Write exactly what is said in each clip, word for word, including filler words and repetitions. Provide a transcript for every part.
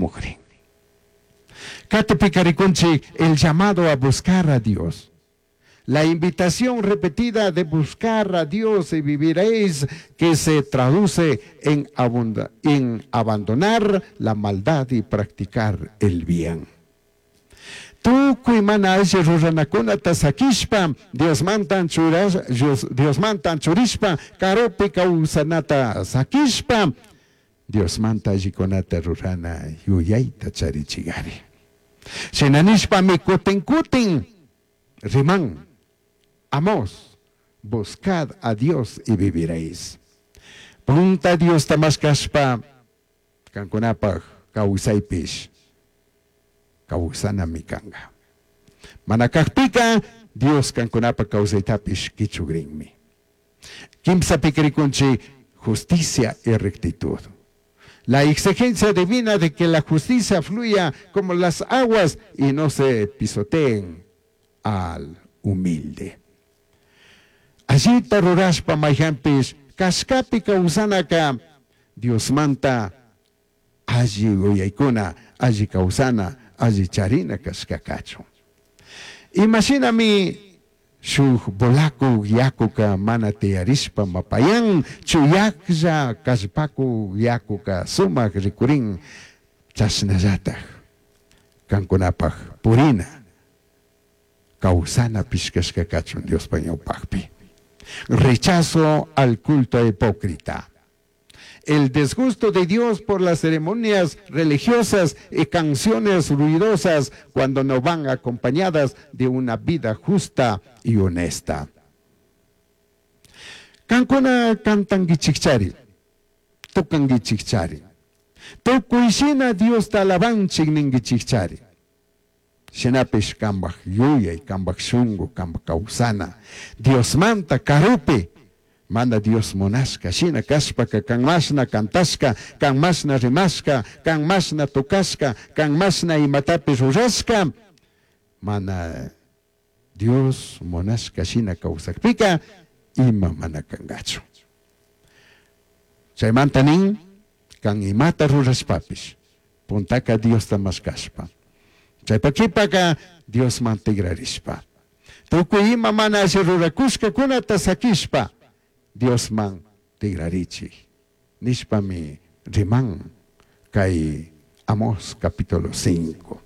shamugrin. Qatipika rikunchik el llamado a buscar a Dios. La invitación repetida de buscar a Dios y viviréis, que se traduce en, abunda, en abandonar la maldad y practicar el bien. Tukuy mana alli ruranakunata sakishpa Diosmanta churash, Diosmanta churishpa karupi kawsanata sakishpa Diosmanta allikunata rurana yuyayta charichigari. Shina nishpami kutin kutin riman Amós, buscad a Dios y viviréis. Punta Diosta mashkashpa kankunapaj kawsaypish kawsanami kanga. Mana kakpika Dios kankunapaj kawsaytapish kichugrinmi. Kimsapika rikunchik justicia y rectitud. La exigencia divina de que la justicia fluya como las aguas y no se pisoteen al humilde. Allita rurashpa mayhanpish kashkapi kawsanaka Diosmanta alli yuyaykuna, alli kawsana, alli charina kashkakachu. Imashinami shuk volaku yakuka mana tiyarishpa mapayan, chuyaklla kallpaku yakuka sumak rikurin chashnallatak kankunapaj purina kawsana kashka kachun Diospa ñawpakpi. Rechazo al culto hipócrita. El disgusto de Dios por las ceremonias religiosas y canciones ruidosas cuando no van acompañadas de una vida justa y honesta. Kankuna cantanguichikchari, tocanguichikchari. Tukuy Diosta alabanchik ninguichikchari. Shinapish kambaj yuyay, kambaj shungu, kambaj kawsana. Diosmanta karupi mana Dios munashka shina kashpaka kan mashna cantashka, kan mashna rimashka, kan mashna tocashka, kan mashna imatapish rurashka, mana Dios munashka shina kawsakpika ima mana kangachu. Chaymanta nin, kan imata rurashpapish, puntaka Diosta mashkashpa. Chaypakipaka Diosman tigrarishpa. Tukuy ima mana alli rurakushkakunata sakishpa, Diosman tigrarichik. Nishpami riman kay Amós capítulo cinco.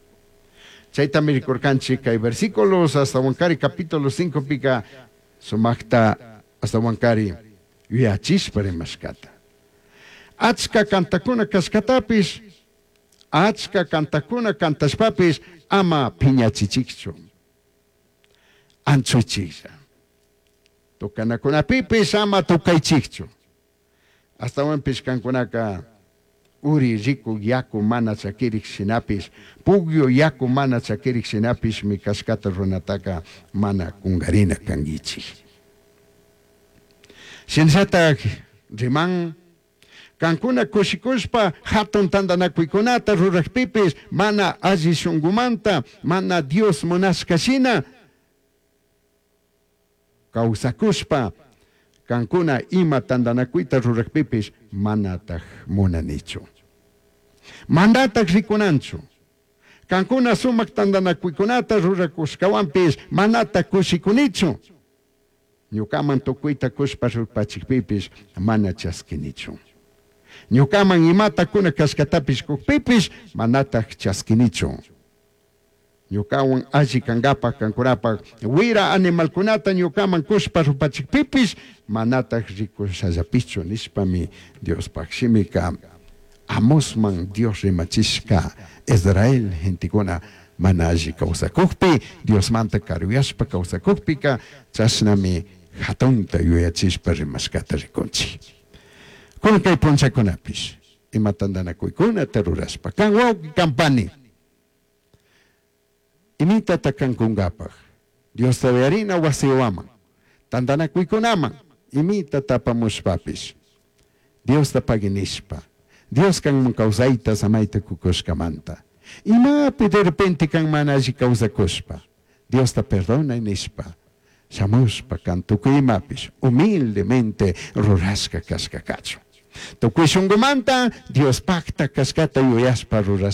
Chaytami rikurkanchik kay versículos hasta wankari capítulo cinco pika sumakta hasta wankari yuyachishpa rimashkata. Achka kantakuna kashkatapish, achka kantakuna kantashpapish ama piñachichikchu. Anchuychiklla. Tocanakunapipish ama tukaychikchu. Astawanpish kankunaka uri riku yaku mana chakirik shinapish, pugyo yaku mana chakirik shinapish mi kashkata runataka mana kungarina kangichik. Shinallatak riman kankuna kushikushpa hatun tantanakuykunata rurakpipish mana alli shungumanta, mana Dios munashka shina kawsakushpa kankuna ima tantanakuyta rurakpipish manataj munanichu. Manataj rikunanchu. Kankuna sumak tantanakuykunata rurakushkawanpish manataj kushikunichu. Ñukaman tukuyta kushpa rupachikpipish mana chaskinichu. Ñukaman imata kuna kashkatapish kukpipish manataj chaskinichu. Ñukawan alli kankapak kankunapaj wira animalkunata ñukaman kushpa rupachikpipish manataj rikushallapichu nishpami Diospaj shimika Amosman Dios rimachishka Israel gentekuna mana alli kawsakukpi Diosmanta karuyashpa kawsakukpika chashnami hatunta yuyachishpa rimashkata rikunchik. Kunan kay punchakunapish ima tantanakuykunata rurashpa kan wawqi kan pani imitata kankunkapaj Diosta uyarina wasiwaman tantanakuykunaman imita tapamushpapish Diosta paginishpa Dios kanman kawsayta samayta kukushkamanta imapi de repente kan mana alli kawsakushpa Diosta perdona nishpa shamushpa kan tukuy imapish humildemente rurashka kashka kachun. Tukuy shungumanta Diospakta kashkata yuyashpa rurashpa.